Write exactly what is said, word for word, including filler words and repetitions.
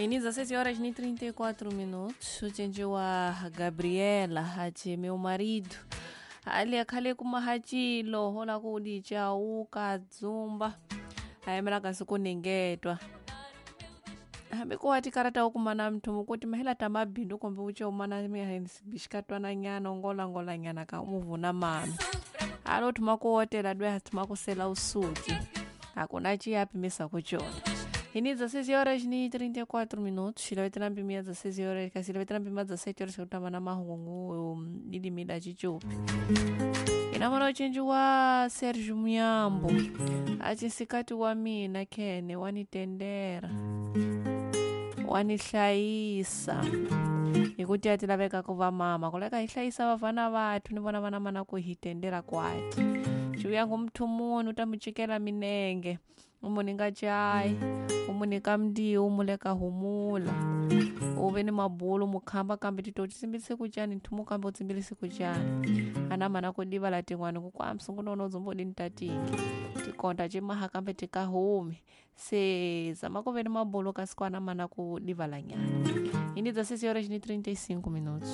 Em dezesseis horas e trinta e quatro minutos, ucenjiwa Gabriela hachi meu marido ali akhale kumahachilo hola kudichauka dzumba ayemela kasi kuningetwa hambi kuwati karata ukumana mthu mukuti mahela tamabindu kombe uche umana bixikatwana nyana ongolangola nyana ka umuvuna mano alo thuma kuotela dwe thuma kusela usuki akuna chiyapimisa kuchona. Ini dezesseis horas e trinta e quatro minutos, xilavetela mpimi dezesseis horas, kasi xilavetela mpimi dezessete horas kutamba na mahungu lilimida chichupi. Inamona uchenji wa Sergio Muyambo, acinsikati wa mina Kene wanitendera, wanihlayisa. Hikuti a ti laveka ku va mama, ku leka hi hlayisa vafana vathu ni vona vana mana ku hi tendera kwati. Xivuyangu muthu munhu u ta mu cikela minenge, u mu nyika cayi, u mu nyika mndiwu, u mu leka humula. U ve ni mabulu mu khamba kambe tito ti tsimbise ku cani nthumu kambe u tsimbilise ku cani. Ana mana ku divala tin'wani ku kwa msungu nono dzumbo di ntatingi. Tikonta cimaha kambe tikahumi. Se zama ku ve ni mabulu kasi kwana mana ku divala nyana. Ini dezesseis horas e trinta e cinco minutos.